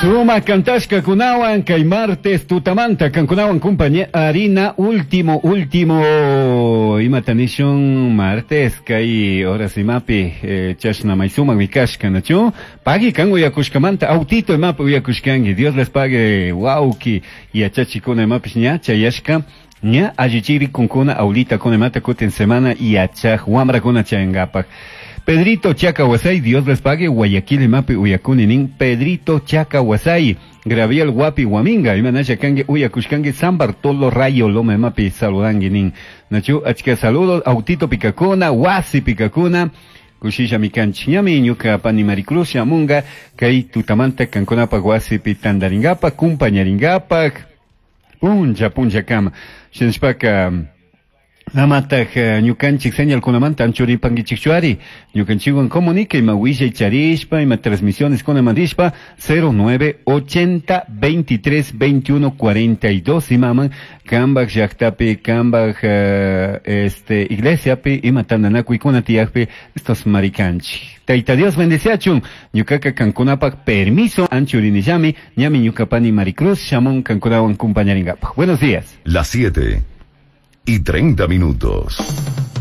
Sumak kantashkakunawan kay martes tutamanta kankunawan compañía harina último último imata nishun martes kay horas imapi chashna may sumak mikashka, nachu? Pagui kan uyakushkamanta autito imapi uyakushkanki. Dios les pague, wauki yachachikuna imapish ña chayashka, ña allichirikunkuna aulita kuna imata kutin semana yachaj wamrakuna chayankapak. Pedrito Chacahuasay, Dios les pague, Guayaquil imapi uyakuni nin Pedrito Chacahuasay, Graviel Guapi Guaminga, imanasha kanki uyakushkanki San Bartolo Rayo Loma imapi saludanki nin. Nachu, achka saludos, autito pikakuna, wasi pikakuna, kushisha mikanchik ñami ñuka pani Maricruz shamunga, kay tutamanta kankunapak wasipi tandaringapak, kumpañaringapak, puncha puncha kama. Shinashpaka, amataj ñukanchik señalkunamanta anchuripankichikchuari, ñukanchikwan comunica ima willay charishpa, ima transmisiones kunaman rishpa, 09 80 23 21 42 imaman kambak llaktapi, kambak iglesiapi, ima tandanakuykuna tiyakpi, estos marikanchik. Tayta Dios bendeciachun, ñukaka kankunapak permiso anchurinillami, ñami ñuka pani Maricruz shamun kankunawan kumpañaringapak. Buenos días. Las 7:30.